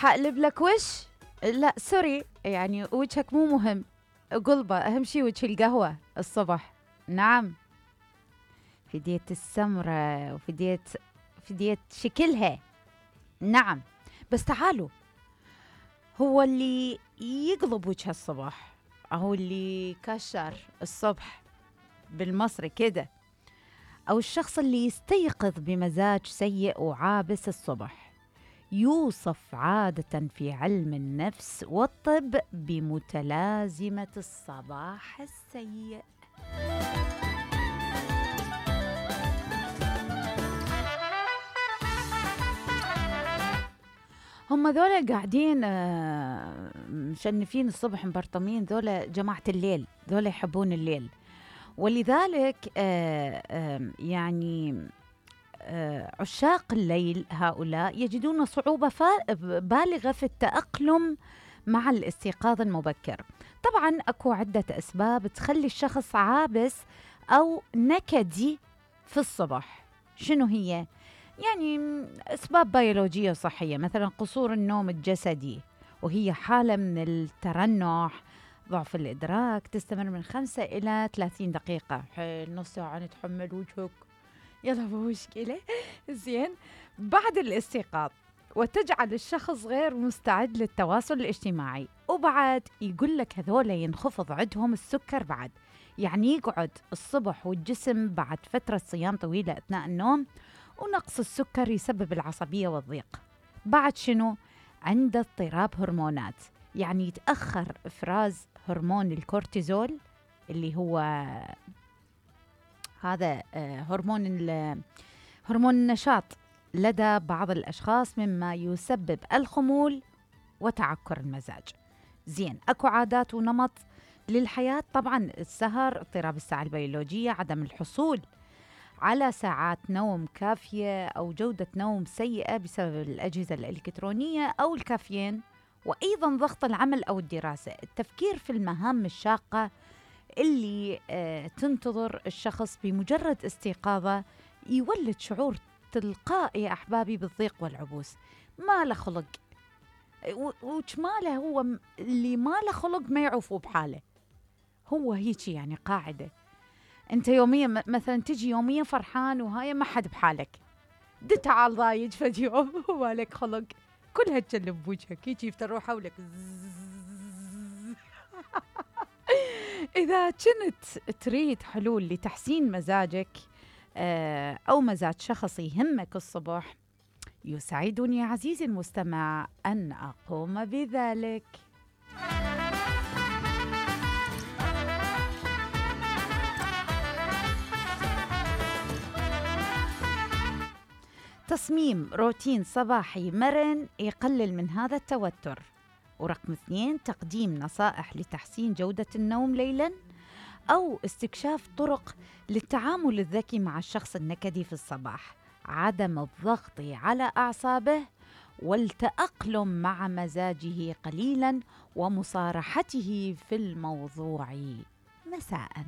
حقلب لك وش؟ لا سوري، يعني وجهك مو مهم. قلبه أهم شي وجه القهوة الصبح. نعم، فديت السمرة فديت شكلها. نعم، بس تعالوا، هو اللي يقلب وجه الصبح أو اللي كشر الصبح بالمصري كده، أو الشخص اللي يستيقظ بمزاج سيء وعابس الصبح، يوصف عادة في علم النفس والطب بمتلازمة الصباح السيء. هم ذولا قاعدين مشنفين الصبح مبرطمين، ذولا جماعة الليل، ذولا يحبون الليل، ولذلك يعني عشاق الليل هؤلاء يجدون صعوبة بالغة في التأقلم مع الاستيقاظ المبكر. طبعا أكو عدة أسباب تخلي الشخص عابس أو نكدي في الصبح. شنو هي؟ يعني أسباب بيولوجية وصحية، مثلا قصور النوم الجسدي، وهي حالة من الترنح، ضعف الإدراك، تستمر من 5 إلى 30 دقيقة. حيل نص ساعة نتحمل وجهك، يلا مو مشكلة. زين، بعد الاستيقاظ، وتجعل الشخص غير مستعد للتواصل الاجتماعي. وبعد يقول لك هذول ينخفض عندهم السكر بعد، يعني يقعد الصبح والجسم بعد فترة صيام طويلة أثناء النوم، ونقص السكر يسبب العصبية والضيق. بعد شنو؟ عند اضطراب هرمونات، يعني يتأخر إفراز هرمون الكورتيزول اللي هو هذا هرمون النشاط لدى بعض الأشخاص، مما يسبب الخمول وتعكر المزاج. زين، أكو عادات ونمط للحياة، طبعا السهر، اضطراب الساعة البيولوجية، عدم الحصول على ساعات نوم كافية أو جودة نوم سيئة بسبب الأجهزة الإلكترونية أو الكافيين، وأيضا ضغط العمل أو الدراسة، التفكير في المهام الشاقة اللي تنتظر الشخص بمجرد استيقاظه، يولد شعور تلقائي يا أحبابي بالضيق والعبوس. ما له خلق، وش ماله، هو اللي ما له خلق ما يعوفوا بحاله، هو هيك يعني قاعدة. انت يوميا مثلا تجي يوميا فرحان وهاي ما حد بحالك، تعال ضايج فد يوم وما لك خلق، كلها تجلب بوجهك هيك تروح حولك. إذا كنت تريد حلول لتحسين مزاجك أو مزاج شخص يهمك الصبح، يسعدني عزيزي المستمع أن أقوم بذلك. تصميم روتين صباحي مرن يقلل من هذا التوتر. ورقم 2، تقديم نصائح لتحسين جودة النوم ليلاً، أو استكشاف طرق للتعامل الذكي مع الشخص النكدي في الصباح، عدم الضغط على أعصابه والتأقلم مع مزاجه قليلاً ومصارحته في الموضوع مساءً.